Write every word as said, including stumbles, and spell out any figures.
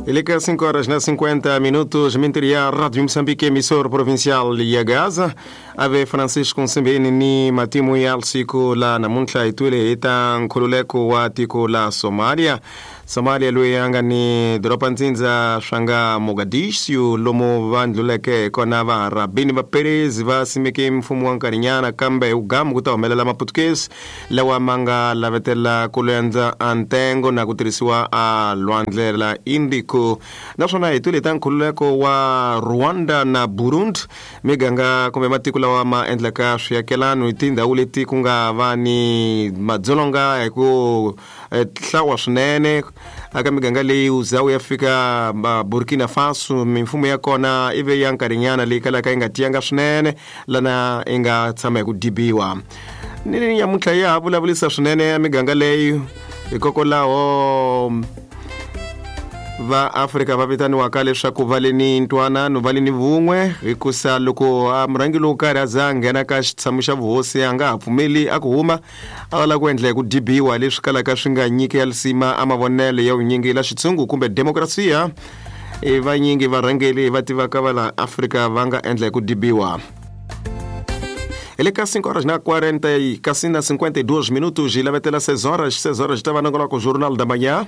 Ele que cinco horas na cinquenta minutos, Minteria Rádio Moçambique, emissor provincial ya Gaza. Ave Francisco Nsimbeni ni matimu ya siku la namuntlha hi twile hi ta nkhululeko wa tiko la Somalia. Somalia loyi a nga ni doroba ntsindza swa nga Mogadishu, lomu va ndluleke kona Vaarabini va Perezi va simeke mfumo wa nkarhinyana, kambe hi vugamu ku ta humelela Maputukezi lawa ma nga lavetela ku lendza a ntengo na ku tirhisiwa a lwandle la Indico. Naswona hi twile ta nkhululeko wa Rwanda na Burundi, miganga kumbe matiko lawa ma endlaka swiakelano hi tindhawu leti ku nga va ni madzolonga hi ku hlawa swinene aka miganga leyi uzawu ya fika Burkina Faso. Mimfumo ya kona ive ya nkarhinyana leyi kalaka yi nga tiyanga swinene, lana yi nga tshama hi ku dibiwa. Ni nyamuntlha ya ha vulavulisa swinene ya miganga leyi, hikokwalaho va Afrika va vitaniwaka leswaku va le ni ntwanano, va le ni vun'we, hikusa loko a murhangi lowo karhi a za a nghena ka xitshamo xa vuhosi a nga ha pfumeli a ku huma, a lava ku endla hi ku dibiwa, leswi kalaka swi nga nyiki ya lisima a mavonelo ya vunyingi la xitshungu kumbe demokrasiya. E vanyingi varhangeli va tivaka va la Afrika va nga endla hi ku dibiwa. Ele ka cinco horas na quarenta e kasi na cinquenta e dois minutos, e lavetela seis horas, seis horas estava nangoloko Jornal da Manhã.